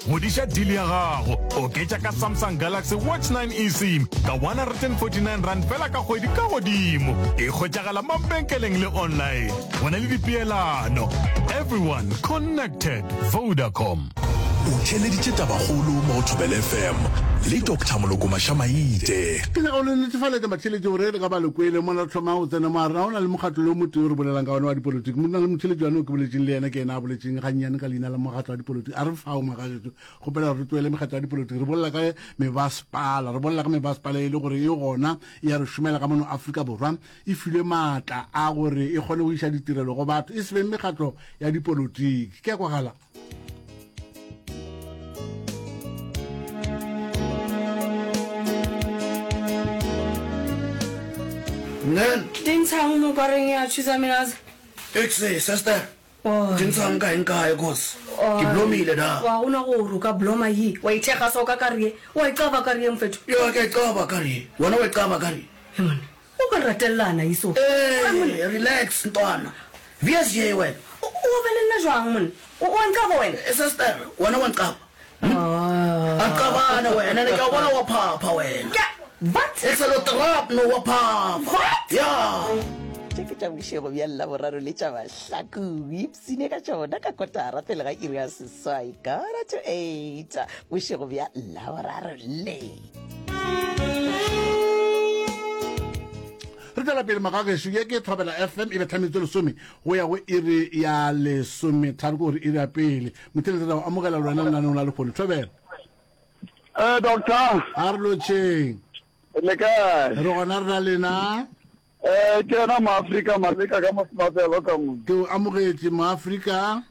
Ngwadiša deal ya gago. Oketša ka Samsung Galaxy Watch 9 eSIM ka R149 fela ka kgwedi ka godimo. E hwetšagala mabenkeleng le online. Go na le dipeelano. Everyone connected. Vodacom. O theeleditše Tabakgolo mo go Thobela FM le Doctor Moloko Mashamaite. Ke nyaka go le netefaletša batheeletši gore le ka ba le kwele mola re thoma go tsena mo a rena go na le mokgatlo le o motee o re bolelang ka ona wa dipolotiki. Mo na le motheeletši wane o ke boletšeng le yena ke yena a boletšeng gannyane ka leina la mokgatlo wa dipolotiki. A re fao magagetšo kgopela gore re tlohele mekgatlo ya dipolotiki re bolela ka mebasepala re bolela ka mebasepala e le gore e gona e ya re šomela ka mono Afrika Borwa e filwe maatla a gore e kgone go iša ditirelo go batho e se beng mekgatlo ya dipolotiki. Ke a kwagala. Nen. Dintshang mo kareng ya thusa minaza. Exe, sister. Dintshang kae nkae cause ke blomile da. Wa gona gore o ka bloma ye. Wa ithekga so ka kare ye. Wa icaba kare ye mfethu. Ya ke icaba kare ye. Wena wa icaba kare ye. He monna. O ka ratelana iso. Ee, relax ntwana. VSJ wena. O o be le nna jwang monna? O o a nqaba wena? Eh, sister, wena wa nqaba. Hm? A nqabane wena, ne ke a bona wa phapha wena. Ke what? Excelo trap no wa phapha. What? Yeah. Tše ke tša bošego bja Laboraro le tša Mahlaku. Ipsine ka tšona ka kotara pele ga iri ya seswai, quarter to eight, bošego bja Laboraro le. Re tšwela pele magagešo, ye ke Thobela FM e betha metsotso lesome go ya go iri ya lesometharo, ke gore iri ya pele. Motheeletši re a go amogela le wena lenaneong la lehono. Thobela. Eh, doctor. A re lotšheng. Le kae? Re gona re na lena. Eh, ke yena Moafrika Maleka ka Mosmafelo ka mo. Ke o amogetše Moafrika.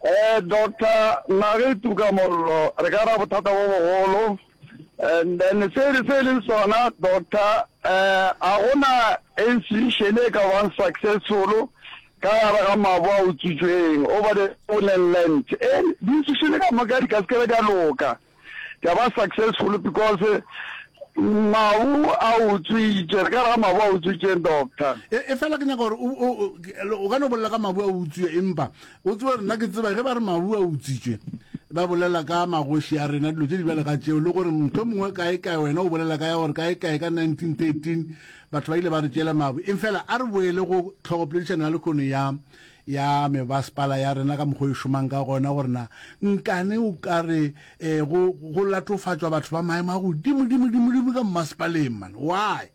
Eh, doctor, naga e tuka mollo, re ka ra bothata bo bogolo. And then se se e leng sona doctor, eh, a gona institution e ka bang successful ka gare ga mabu a utswitšweng over the stolen land. Eh, di-institution ka moka di ka se ke be di a loka. Di a ba successful because mabu a utswitše, re ka re ga mabu a utswitšeng doctor. E, e fela ke nyaka gore o, o, o ka no bolela ka mabu a utswiwe empa o tsebe gore nna ke tseba ge ba re mabu a utswitšwe ba bolela ka magoši a rena dilo tše di bjale ga tšeo le gore motho mongwe kae kae wena o bolela ka ya gore kae kae ka 1913 batho ba ile ba re tšeela mabu eng fela a re boele go tlhogopoledišano ya lekgono ya ya mebasepala ya rena ka mokgwa e šomang ka gona gore na nkane o ka re um go, go latofatšwa batho ba maemo a godimo-dimo-dimo-dimo ka mmasepaleng man why?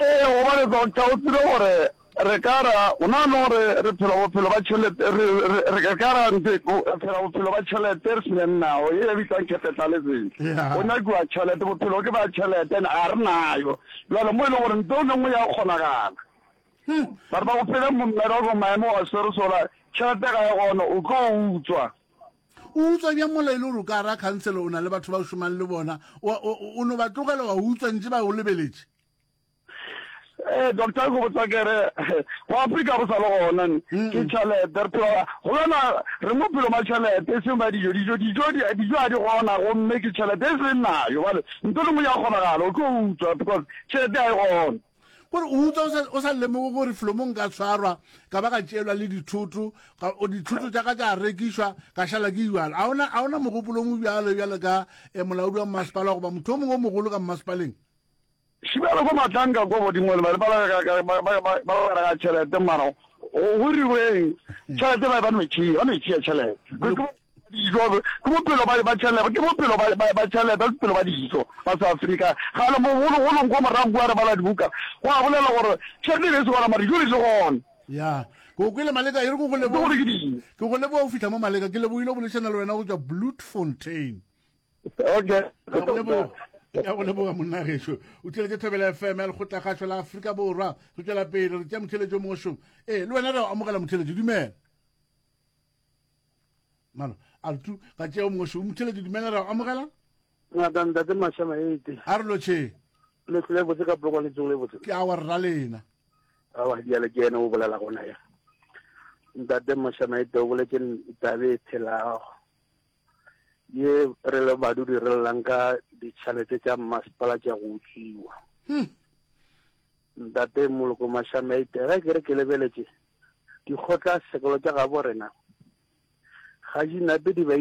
Ee, gobane doctor o tsebe gore re ka ra o na le gore re phela bophelo ba tšhelete re re re ka ra ntse re phela bophelo ba tšhelete re se nao ye e bitswang capitalism go nyakiwa tšhelete bophelo ke ba tšhelete and ga re nayo jale mo e leng gore nto e lengwe ya kgonagala Batho ba go phele mmereko maemo wa swere sola tšhelete ga e gona o tlo utswa. O utswa bjang mola e le gore o ka ra khansele o na le batho ba o šomang le bona o no ba tlogela wa utswa ntše ba o lebeletše? Ee doctor ke botsa ke re go Afrika go sa le gona ne ke tšhelete re phela go yona re mo phelo ba tšhelete e seng ba dijo dijo dijo dijo ga di gona gomme ke tšhelete e seng nayo bale ntho le nngwe ya kgonagala o tlo utswa because tšhelete ga e gona. Gore o utswa o sa, o sa lemoge gore flomong ka tshwarwa ka ba ka tšeelwa le dithoto, ka, o, dithoto tša ka tša rekišwa, ka šala ke bjalo. A ona, a ona mogopolong o bjalo bjalo ka eh, molaodi wa mmasepala goba motho o mongwe o mogolo ka mmasepaleng? Šibjalo ko Matlanka ko godimo le ba ba ba ba ba ba ba ga tšhelete mara go go riweng tšhelete ba ba no e tšea ba no e tšea tšhelete. Dijo ke bophelo ba ba tšhelete ke bophelo ba ba ba tšhelete bophelo ba dijo ba South Africa gale mogologolong ko morago kua re bala dibuka go a bolela gore tšhelete e be e se gona mara dijo di le gona. Ya, ke go kwele Maleka, e re ke go leboge. Gore ke dijo. Ke go leboga go fihla mo Maleka, ke lebogile go boledišana le wena go tšwa Bloemfontein. Okay. Ke a go leboga. Ke a go leboga monna gešo. O tšweletše Thobela FM ya Lekgotlakgašo la Afrika Borwa. Re tšwela pele re tšea motheeletši o mongwe šong. Ee, le wena re a go amogela motheeletši, dumela. Mano, a re tu, ga tšea o mongwe šo. Motheeletši, dumela re a go amogela. Ngata ntate Mashama ete. A re lotšheng. Le tlile botse ka polokwane le tsogile botse. Ke awa rra lena. Awa bjale ke yena o bolela gona ya. Ntate Mashama ete o boletše tabe e phelago. Ye re le badudi re llang ka ditšhelete tša mmasepala tša go utswiwa. Hmm. Ntate Moloko Mashama ete ge ke re ke lebeletše dikgotla sekolo tša gabo rena ga di nape di ba.